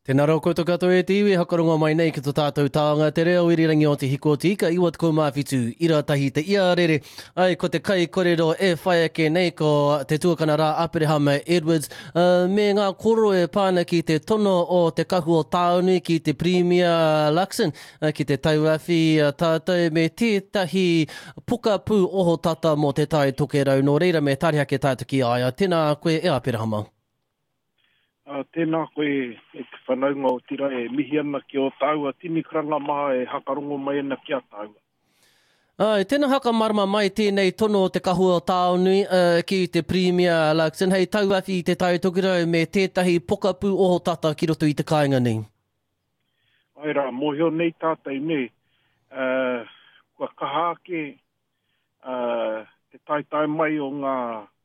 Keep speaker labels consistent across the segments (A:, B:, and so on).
A: Tēnā rā koutou katoa e te iwi, hakarongo mai nei ki to tātou taonga te reo irirangi o Te Hiko o Te Ika 97 ira tahi te iarere. Ai, ko te kai korero e whai ake nei ko te tuakana rā Aperehama Edwards uh, me ngā koro e pā ana ki te tono o te kahu o Tāonui ki te Pirimia Luxon uh, ki te tauawhi uh, tātou me tētahi pokapū ohotata mō te Tai Tokerau. Nō reira me tari ake tātou ki a ia. Tēnā koe e Aperehama.
B: Ā, tēnā koe e te whanaunga o Tira e mihi ana ki ō tāua tini karanga maha e hakarongo mai ana ki a tāua.
A: Āe, tēnā whakamarama mai tēnei tono o Te Kahu o Taonui ki te Pirimia Luxon hei tauawhi i Te Tai Tokerau me tētahi pokapū ohotata ki roto i te kāinga nei.
B: Āe rā, mōhio nei tātou nē, kua kaha ake te taetae mai o ngā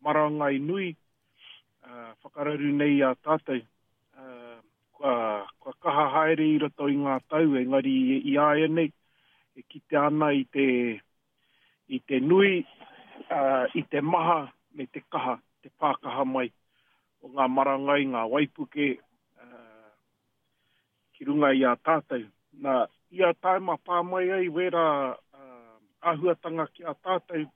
B: marangai nui whakararu nei i a tātou. Kua, kua kaha haere i roto i ngā tau, engari i āianei e kitea ana i te, i te nui, i te maha me te kaha, te pākaha mai o ngā marangai, ngā waipuke, ki runga i a tātou. Nā, ia taima pā mai ai wērā āhuatanga ki a tātou,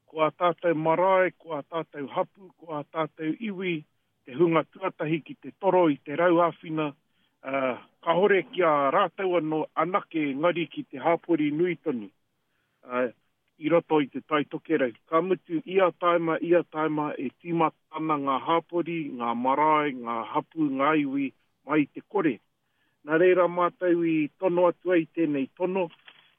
B: ko ā tātou marae, ko ā tātou hapū, ko ā tātou iwi, te hunga tuatahi ki te toro i te rau āwhina, ā, kāore ki a rātou anō anake engari ki te hāpori nui tonu, ā, i roto i Te Tai Tokerau. Ka mutu, ia taima, ia taima e tīmata ana ngā hāpori, ngā marae, ngā hapū, ngā iwi mai i te kore. Nā reira mātou i tono atu ai tēnei tono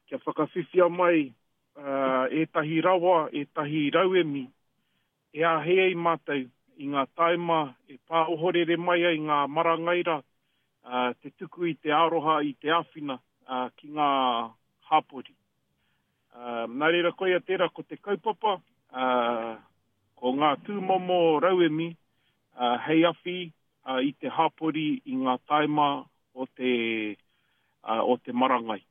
B: kia whakawhiwhia mai ētahi rawa, ētahi rauemi e āhei ai mātou i ngā taima e pā ohorere mai ai ngā marangai rā, te tuku i te aroha, i te āwhina ki ngā hāpori. Nā reira koia tērā ko te kaupapa, ko ngā tūmomo rauemi hei awhi i te hāpori i ngā taima o te, o te marangai.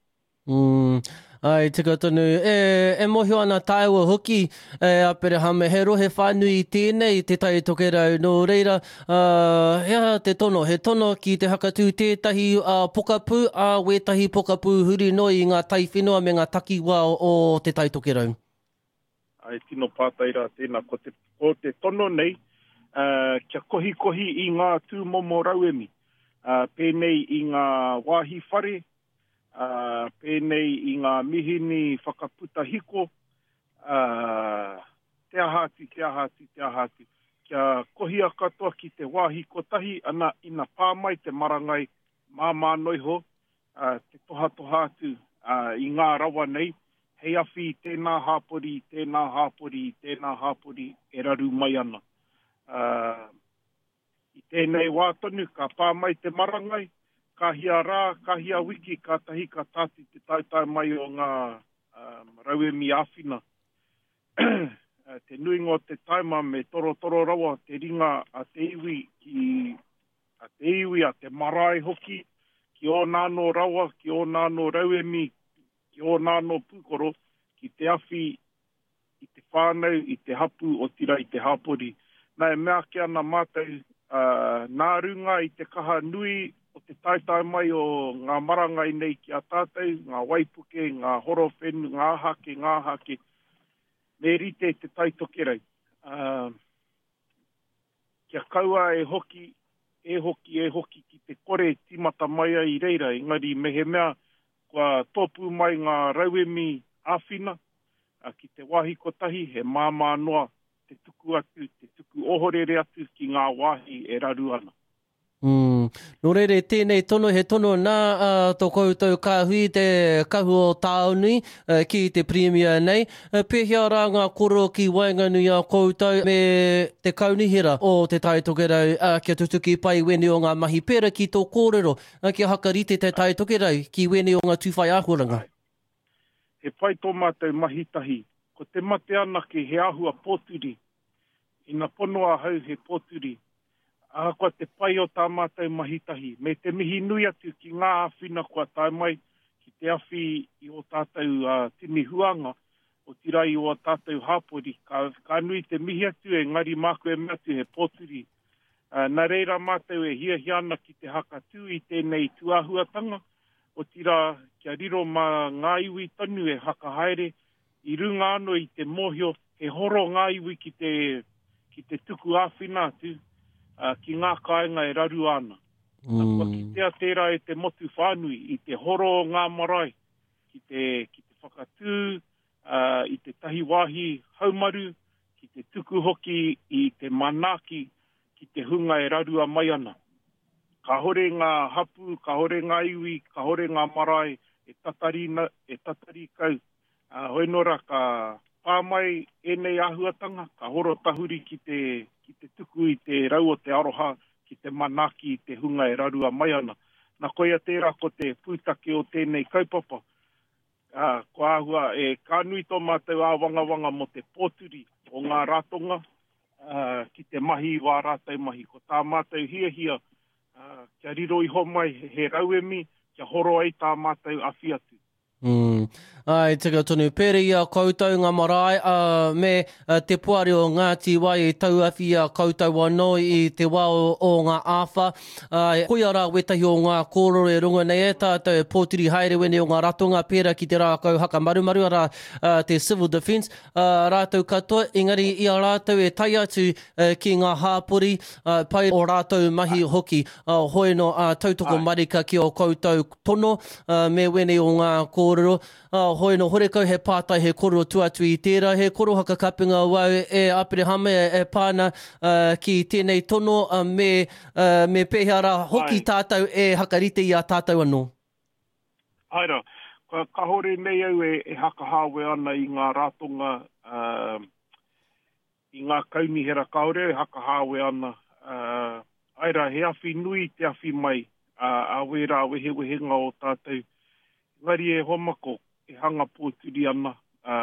A: Mm, ai, tika tonu. E, e mōhio ana tāua hoki, e Aperehama, he rohe whānui tēnei te Tai Tokerau. Nō reira, uh, he aha te tono? He tono ki te hakatū tētahi uh, pokapū, ā, wētahi pokapū huri noa i ngā taiwhenua me ngā takiwā o te Tai Tokerau.
B: Ai, tino pātai rā tēnā. Ko te, ko te tono nei, uh, kia kohikohi i ngā tūmomo rauemi, uh, pēnei i ngā wāhi whare, ā, pēnei i ngā mihini whakaputa hiko, ā, te aha atu, te aha atu, te aha atu. Kia kohia katoa ki te wāhi kotahi, ana, ina pā mai te marangai, māmā noa iho, ā, te tohatoha atu, ā, i ngā rawa nei, hei awhi i tēnā hāpori, i tēnā hāpori, i tēnā hāpori e raru mai ana. Ā, I tēnei wā tonu ka pā mai te marangai, ka hia rā, ka hia wiki kātahi ka tāti te taetae mai o ngā rauemi āwhina. Te nuinga o te taima me torotoro rawa te ringa a te iwi ki a te iwi, a te marae hoki, ki ōna anō rawa, ki ōna anō rauemi, ki ōna anō pūkoro, ki te awhi i te whānau, i te hapū, otirā i te hapori. Nā, e mea ake ana mātou, ā, nā runga i te kaha nui o te taetae mai o ngā marangai nei ki a tātou, ngā waipuke, ngā horowhenu, ngā hake, ngā hake, me rite te Tai Tokerau. Ā, kia kaua e hoki, e hoki, e hoki ki te kore tīmata mai ai i reira, engari mehemea kua tōpū mai ngā rauemi āwhina, ki te wāhi kotahi, he māmā noa te tuku atu, te tuku ohorere atu ki ngā wāhi e raru ana.
A: Mm. Nō reira, tēnei tono, he tono nā uh, tō koutou kāhui te kahu o Tāonui uh, ki te Pirimia nei. Uh, pēhea rā ngā koro ki waenganui a koutou me te kaunihera o Te Tai Tokerau uh, kia tutuki pai wēnei o ngā mahi pērā ki tō kōrero, uh, kia hakarite Te Tai Tokerau ki wēnei o ngā tūwhai āhuaranga?
B: He pai tō mātou mahi tahi. Ko te mate anake he āhua pōturi. Ina pono ahau he pōturi. Ahakoa te pai o tā mātou mahi tahi, me te mihi nui atu ki ngā āwhina kua tae mai ki te awhi i ō tātou tini huānga, otirā i ō tātou hāpori, ka, ka nui te mihi atu engari māku e mea atu he pōturi. Nā reira mātou e hiahia ana ki te hakatū i tēnei tūāhuatanga, otirā kia riro mā ngā iwi tonu e hakahaere i runga anō i te mōhio he horo ngā iwi ki te, ki te tuku āwhina atu ki ngā kāinga e rarua ana. Kua kitea tērā e te motu whānui i te horo o ngā marae ki te, ki te whakatū i tētahi wāhi haumaru, ki te tuku hoki i te manaaki ki te hunga e rarua mai ana. Kāhore ngā hapū, kāhore ngā iwi, kāhore ngā marae e tatari, e tatari kau. Hoi nō rā, ka pā mai ēnei āhuatanga, ka horo tahuri ki te, ki te tuku i te rau o te aroha, ki te manaaki i te hunga e rarua mai ana. Na koia tērā ko te pūtake o tēnei kaupapa. Ā, kua āhua e, ka nui tō mātou āwangawanga mō te pōturi o ngā ratonga, ā, ki te mahi i wā rātou mahi. Ko tā mātou hiahia, ā, kia riro iho mai he rauemi kia horo ai tā mātou awhi atu.
A: Mm. Ai, tika tonu. Pērā i a koutou ngā marae, ā, me te poari o Ngāti Wai i tauawhi i a koutou anō i te wā o, o ngā āwhā. Ā, koia rā wētahi o ngā kōrero e rongo nei e tātou e pōturi haere wēnei o ngā ratonga pērā ki te rākau haka marumaru, arā, te Civil Defence, ā, rātou katoa, engari i a rātou e tae atu ki ngā hāpori, pai o rātou mahi hoki. Hoi nō, ā, tautoko marika ki ō koutou tono, me wēnei o ngā kōrero. Ā, hoi nō, horekau he pātai, he kōrero tua atu i tērā, he korohaka kapenga wau e Aperehama e pā ana ki tēnei tono, me, me pēhea rā hoki tātou e hakarite i a tātou anō?
B: Āe rā, kāore nei au e hakahāwea ana i ngā ratonga, i ngā kaunihera kāore au e hakahāwea ana, āe rā, he awhi nui te awhi mai a wērā wehewehenga o tātou Engari e hoa mako, e hanga pōturi ana, ā,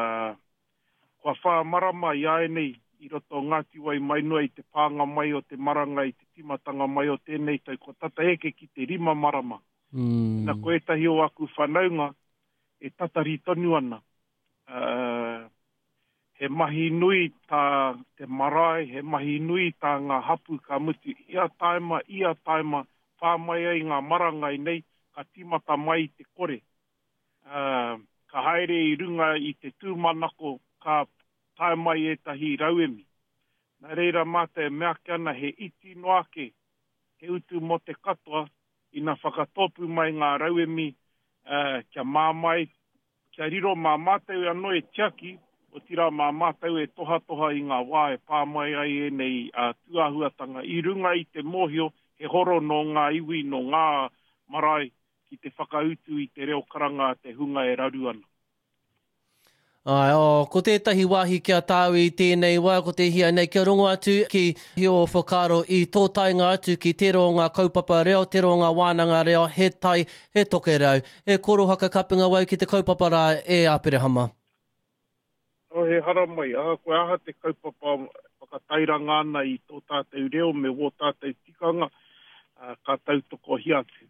B: kua whā marama i āianei i roto o Ngāti Wai mai noa i te pānga mai o te marangai i te tīmatanga mai o tēnei tau, kua tata eke ki te rima marama. Na, ko ētahi o aku whanaunga e tatari tonu ana, ā, he mahi nui tā te marae, he mahi nui tā ngā hapū ka mutu ia taima, ia taima, pā mai ai ngā marangai nei, ka tīmata mai i te kore. Ā, ka haere i runga i te tūmanako ka tae mai ētahi rauemi. Nā reira mātou e mea ake ana he iti noa ake te utu mō te katoa ina whakatōpū mai ngā rauemi, ā, kia māmā ai Kia riro mā mātou anō e tiaki, otirā mā mātou e tohatoha i ngā wā e pā mai ai ēnei tūāhuatanga i runga i te mōhio he horo nō ngā iwi, nō ngā marae ki te whakautu i te reo karanga a te hunga e raru ana.
A: Āe, oh, ko tētahi wāhi ki a tāu i tēnei wā, ko te hia nei kia rongo atu ki ō whakaaro i tō taenga atu ki tērā o ngā kaupapa reo, tērā o ngā wānanga reo, he tai, he tokerau. He korohaka kapenga wau ki te kaupapa rā e Aperehama.
B: Oh, he haramai, ahakoa aha te kaupapa whakatairanga ana i tō tātou reo me wō tātou tikanga, ka tautokohia atu.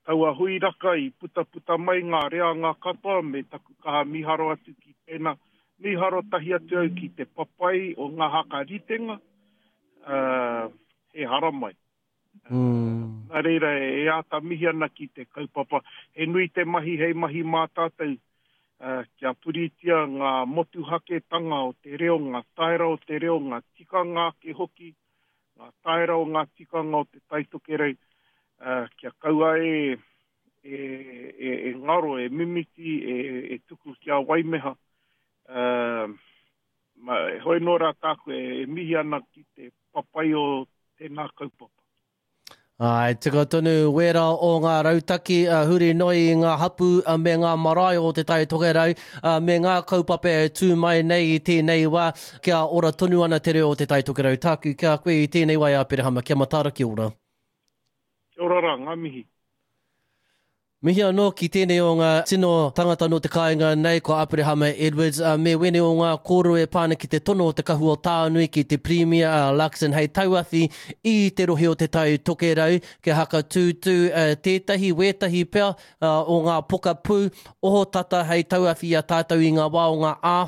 B: Taua hui raka i putaputa mai ngā reanga katoa me taku kaha mīharo atu ki tēnā, mīharo tahi atu au ki te papai o ngā hakaritenga, he haramai. Mm. Nā reira, e āta mihi ana ki te kaupapa. He nui te mahi hei mahi mā tātou uh, kia puritia ngā motuhaketanga o te reo, ngā taera o te reo, ngā tikanga ake hoki, ngā taera o ngā tikanga o te Taitokerau, uh, kia kaua e, e, e, e ngaro, e mimiti, e, e tuku kia waimeha. Uh, Ma, hoi nō rā tāku e, e mihi ana ki te papai o tēnā kaupapa.
A: Āe, tika tonu wērā o ngā rautaki huri noa i ngā hapū me ngā marae o Te Tai Tokerau me ngā kaupapa e tū mai nei i tēnei wā kia ora tonu ana te reo o Te Tai Tokerau. Tāku ki a koe i tēnei wā e Aperehama, kia mataara, kia ora.
B: Kia ora rā, ngā mihi.
A: Mihi anō ki tēnei o ngā tino tangata nō te kāinga nei, ko Aperehama Edwards, ā, me wēnei o ngā kōrero e pā ana ki te tono o Te Kahu o Tānui ki te Pirimia, a Luxon hei tauawhi i te rohe o Te Tai Tokerau kia hakatūtū tētahi, wētahi pea, o ngā pokapū ohotata hei tauawhi i a tātou i ngā wā o ngā āwha.